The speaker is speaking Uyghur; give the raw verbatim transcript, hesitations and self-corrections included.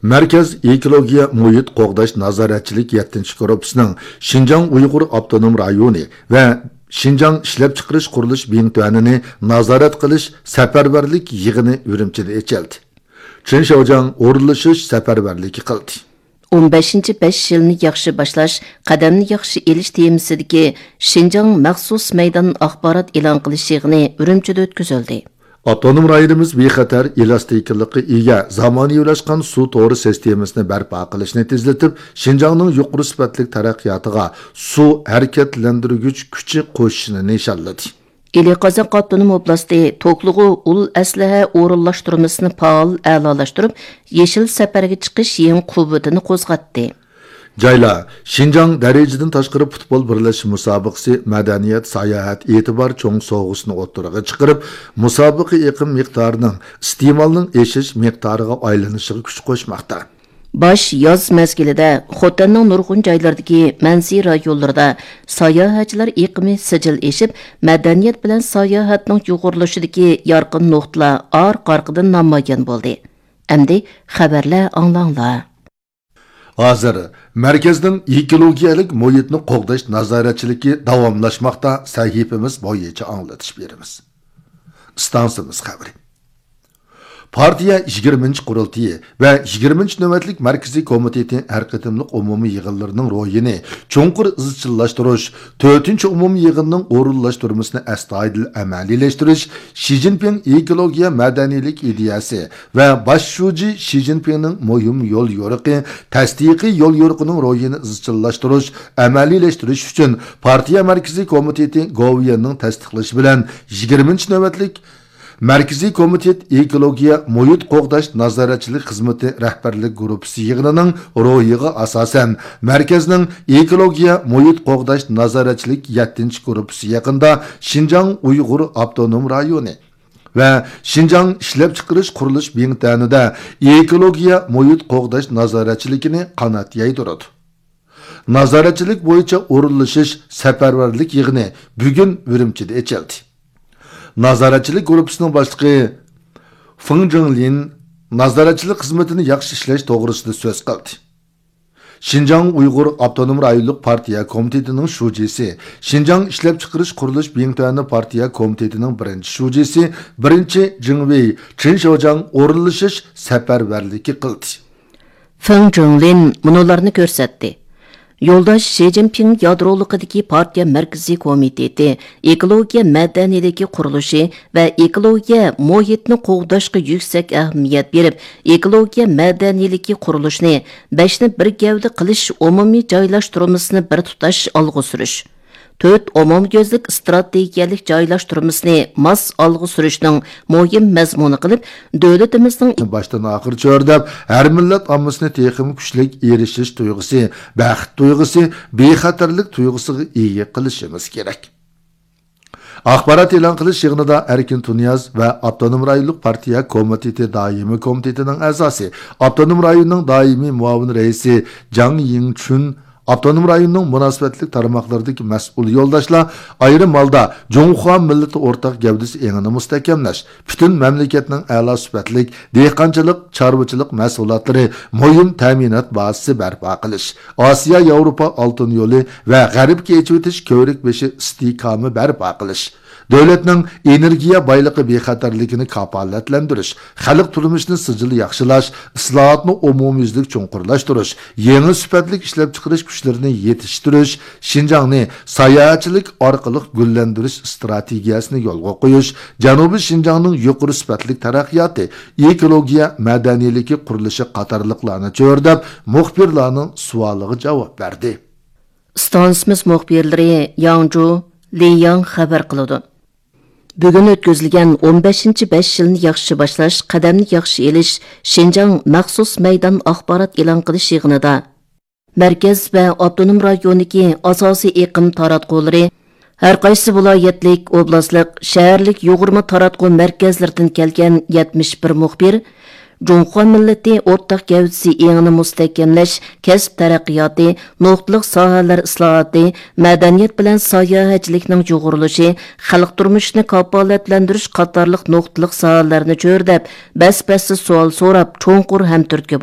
مەركەز ئېكولوگىيە مۇھىت قوغداش نازارەتچىلىك يەتتىنچى گۇرۇپپىسىنىڭ شىنجاڭ ئۇيغۇر ئاپتونوم رايونى ۋە شىنجاڭ ئىشلەپچىقىرىش قۇرۇلۇش بىڭتۈەنىنى نازارەت قىلىش سەپەرۋەرلىك يىغىنى ئۈرۈمچىدە ئېچىلدى. چېن شياۋجياڭ ئورۇنلىشىش سەپەرۋەرلىكى قىلدى. ئون بەشىنچى بەش يىلنى ياخشى باشلاش، قەدەمنى ياخشى ئېلىش تېمىسىدىكى شىنجاڭ مەخسۇس مەيدان ئاخبارات ئېلان قىلىش يىغىنى ئۈرۈمچىدە ئۆتكۈزۈلدى. ئاپتونوم رايونىمىز بىخەتەر، ئېلاستىكىلىققا ئىگە، زامانىۋىلاشقان سۇ تورى سىستېمىسىنى بەرپا قىلىشنى تېزلىتىپ، شىنجاڭنىڭ يۇقىرى سۈپەتلىك تەرەققىياتىغا سۇ ھەرىكەتلەندۈرگۈچ كۈچى قوشۇشىنى نىشانلىدى. ئىلى قازاق ئاپتونوم ئوبلاستى توكلۇغۇ ئۇل ئەسلىھە ئورۇنلاشتۇرمىسىنى پائال ئەلالاشتۇرۇپ، يېشىل سەپەرگە چىقىش يېڭى قۇۋۋىتىنى قوزغاتتى. جايلار، شىنجاڭ دەرىجىدىن تاشقىرى پۇتبول بىرلەشمە مۇسابىقىسى، مەدەنىيەت، ساياھەت ئېتىبار چوڭ سوۋغىسىنى ئوتتۇرىغا چىقىرىپ، مۇسابىقە ئېقىم مىقدارىنىڭ ئىستېمالنىڭ ئېشىش مىقدارىغا ئايلىنىشىغا كۈچ قوشماقتا. باش ياز مەزگىلىدە خوتەننىڭ نۇرغۇن جايلىرىدىكى مەنزىرە رايونلىرىدا ساياھەتچىلەر ئېقىمى سىجىل ئېشىپ، مەدەنىيەت بىلەن ساياھەتنىڭ يۇغۇرۇلۇشىدىكى يارقىن نۇقتىلار ئارقا-ئارقىدىن نامايان بولدى. ئەمدى خەۋەرلەر ئاڭلاڭلار. ھازىر مەركەزنىڭ ئېكولوگىيەلىك مۇھىتنى قوغداش نازارەتچىلىكى داۋاملاشماقتا، سەھىپىمىز بويىچە ئاڭلىتىش بېرىمىز. ئىستانسىمىز خەۋىرى. پارتىيە يىگىرمىنچى قۇرۇلتىيى ۋە يىگىرمىنچى نۆۋەتلىك مەركىزىي كومىتېتى ھەر قېتىملىق ئومۇمىي يىغىنلىرىنىڭ روھىنى چوڭقۇر ئىزچىللاشتۇرۇش، تۆتىنچى ئومۇمىي يىغىننىڭ ئورۇنلاشتۇرمىسىنى ئەستايىدىل ئەمەلىيلەشتۈرۈش، شى جىنپىڭ ئېكولوگىيە مەدەنىيلىك ئىدىيەسى ۋە باش شۇجى شى جىنپىڭنىڭ مۇھىم يول يورۇقى، تەستىقىي يول يورۇقىنىڭ روھىنى ئىزچىللاشتۇرۇش، ئەمەلىيلەشتۈرۈش ئۈچۈن پارتىيە مەركىزىي كومىتېتى گوۋۇيۈەننىڭ تەستىقلىشى بىلەن يىگىرمىنچى نۆۋەتلىك مەركىزىي كومىتېت ئېكولوگىيە مۇھىت قوغداش نازارەتچىلىك خىزمىتى رەھبەرلىك گۇرۇپپىسى يىغىنىنىڭ روھىغا ئاساسەن، مەركەزنىڭ ئېكولوگىيە مۇھىت قوغداش نازارەتچىلىك يەتتىنچى گۇرۇپپىسى يېقىندا شىنجاڭ ئۇيغۇر ئاپتونوم رايونى ۋە شىنجاڭ ئىشلەپچىقىرىش قۇرۇلۇش بىڭتۈەنىدە ئېكولوگىيە مۇھىت قوغداش نازارەتچىلىكىنى قانات يايدۇرىدۇ. نازارەتچىلىك بويىچە ئورۇنلىشىش سەپەرۋەرلىك يىغىنى بۈگۈن ئۈرۈمچىدە ئېچىلدى. نازارەتچىلىك گۇرۇپپىسىنىڭ باشلىقى فېڭ جىڭلىن نازارەتچىلىك خىزمىتىنى ياخشى ئىشلەش توغرىسىدا سۆز قىلدى. شىنجاڭ ئۇيغۇر ئاپتونوم رايونلۇق پارتىيە كومىتېتىنىڭ شۇجىسى، شىنجاڭ ئىشلەپچىقىرىش قۇرۇلۇش بىڭتۈەنى پارتىيە كومىتېتىنىڭ بىرىنچى شۇجىسى، بىرىنچى جىڭۋېي چېن شياۋجياڭ ئورۇنلىشىش سەپەرۋەرلىكى قىلدى. فېڭ جىڭلىن مۇنۇلارنى كۆرسەتتى. يولداش شى جىنپىڭ يادرولۇقىدىكى پارتىيە مەركىزىي كومىتېتى ئېكولوگىيە مەدەنىيلىكى قۇرۇلۇشى ۋە ئېكولوگىيە مۇھىتنى قوغداشقا يۈكسەك ئەھمىيەت بېرىپ، ئېكولوگىيە مەدەنىيلىكى قۇرۇلۇشىنى بەشنى بىر گەۋدە قىلىش ئومۇمىي جايلاشتۇرمىسىنى بىر تۇتاش ئالغا سۈرۈش، تۆت ئومۇميۈزلۈك ئىستراتېگىيەلىك جايلاشتۇرمىسىنى ماس ئالغا سۈرۈشنىڭ مۇھىم مەزمۇنى قىلىپ، دۆلىتىمىزنىڭ باشتىن ئاخىر چۆرىدەپ، ھەر مىللەت ئاممىسىنى تېخىمۇ كۈچلۈك ئېرىشىش تۇيغۇسى، بەخت تۇيغۇسى، بىخەتەرلىك تۇيغۇسىغا ئىگە قىلىشىمىز كېرەك. ئاخبارات ئېلان قىلىش يىغىنىدا ئەركىن تۇنىياز ۋە ئاپتونوم رايونلۇق پارتىيە كومىتېتى دائىمىي كومىتېتىنىڭ ئەزاسى، ئاپتونوم رايوننىڭ دائىمىي مۇئاۋىن رەئىسى جاڭ يىڭچۈن، ئاپتونوم رايوننىڭ مۇناسىۋەتلىك تارماقلىرىدىكى مەسئۇل يولداشلار ئايرىم ھالدا جۇڭخۇا مىللىتى ئورتاق گەۋدىسى ئېڭىنى مۇستەھكەملەش، پۈتۈن مەملىكەتنىڭ ئەلا سۈپەتلىك دېھقانچىلىق، چارۋىچىلىق مەھسۇلاتلىرى مۇھىم تەمىنات بازىسى بەرپا قىلىش، ئاسىيا ياۋروپا ئالتۇن يولى ۋە غەربكە ئېچىۋېتىش كۆۋرۈك بېشى ئىستىھكامى بەرپا قىلىش، دۆلەتنىڭ ئېنېرگىيە بايلىقى بىخەتەرلىكىنى كاپالەتلەندۈرۈش، خەلق تۇرمۇشىنى سىجىل ياخشىلاش، ئىسلاھاتنى ئومۇميۈزلۈك چوڭقۇرلاشتۇرۇش، يېڭى سۈپەتلىك ئىشلەپچىقىرىش كۈچلىرىنى يېتىشتۈرۈش، شىنجاڭنى ساياھەتچىلىك ئارقىلىق گۈللەندۈرۈش ئىستراتېگىيەسىنى يولغا قويۇش، جەنۇبىي شىنجاڭنىڭ يۇقىرى سۈپەتلىك تەرەققىياتى، ئېكولوگىيە مەدەنىيلىكى قۇرۇلۇشى قاتارلىقلارنى چۆرىدەپ، مۇخبىرلارنىڭ سوئالىغا جاۋاب بەردى. ئىستانسىمىز مۇخبىرلىرى ياڭجۇ، لىياڭ خەۋەر قىلىدۇ. بۈگۈن ئۆتكۈزۈلگەن ئون بەشىنچى بەش يىلنى ياخشى باشلاش، قەدەمنى ياخشى ئېلىش شىنجاڭ مەخسۇس مەيدان ئاخبارات ئېلان قىلىش يىغىنىدا مەركەز ۋە ئاپتونوم رايوندىكى ئاساسىي ئېقىم تاراتقۇلىرى، ھەرقايسى ۋىلايەتلىك، ئوبلاستلىق، شەھەرلىك يۇغۇرما تاراتقۇ مەركەزلىرىدىن كەلگەن يەتمىش بىر مۇخبىر، جۇڭخۇا مىللىتى ئورتاق گەۋدىسى ئېڭىنى مۇستەھكەملەش، كەسىپ تەرەققىياتى، نۇقتىلىق ساھەلەر ئىسلاھاتى، مەدەنىيەت بىلەن ساياھەتچىلىكنىڭ يۇغۇرۇلۇشى، خەلق تۇرمۇشىنى كاپالەتلەندۈرۈش قاتارلىق نۇقتىلىق ساھەلەرنى چۆرىدەپ، بەس-بەستە سوئال سوراپ، چوڭقۇر ھەمتۈرتكە